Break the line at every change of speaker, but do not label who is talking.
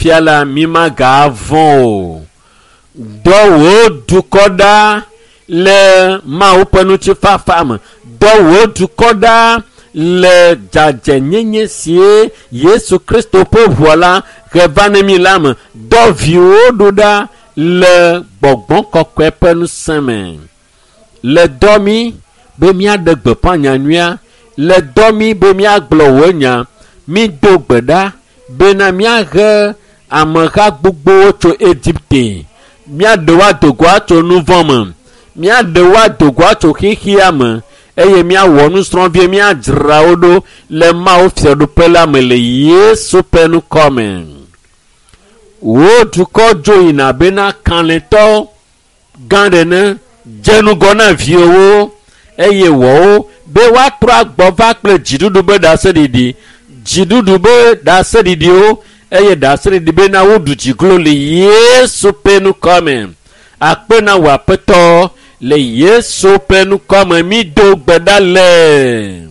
Fifia la mi magavɔ̃ o. Dɔ wò dukɔ ɖa le Mawu ƒe ŋutifafa me. Dɔ wò dukɔ ɖa le dzadzɛnyenye sie Yesu Kristo ƒe ʋua la he va ne mi la me. Dɔ viwò ɖo ɖa le gbɔgbɔ kɔkɔe ƒe ŋusẽ me. Le dɔ mi be míaɖe gbeƒã nyanyuia. Le dɔ mi be míagblɔ wò nya. Mído gbe ɖa bena míahe ameha gbogbowo tso Egipte. Míaɖe wo ado go atso nu vɔ̃ me. Míaɖe wo ado go atso xexea me eye míawɔ nusrɔ̃vie míadzra wo ɖo le Mawu fiaɖuƒe la me le Yesu ƒe ŋkɔ me. Wò dukɔ dzo yina bena kalẽtɔ gã ɖe ne dze ŋgɔ na viwòwo eye wɔwo be woatrɔ agbɔ va kple dziɖuɖu be ɖaseɖiɖi dziɖuɖu be ɖaseɖiɖiwo eye ɖaseɖiɖi bena woɖu dziglo le Yesu ƒe ŋkɔ me. Akpe na wò Aƒetɔ le Yesu ƒe ŋkɔ me mído gbe ɖa le.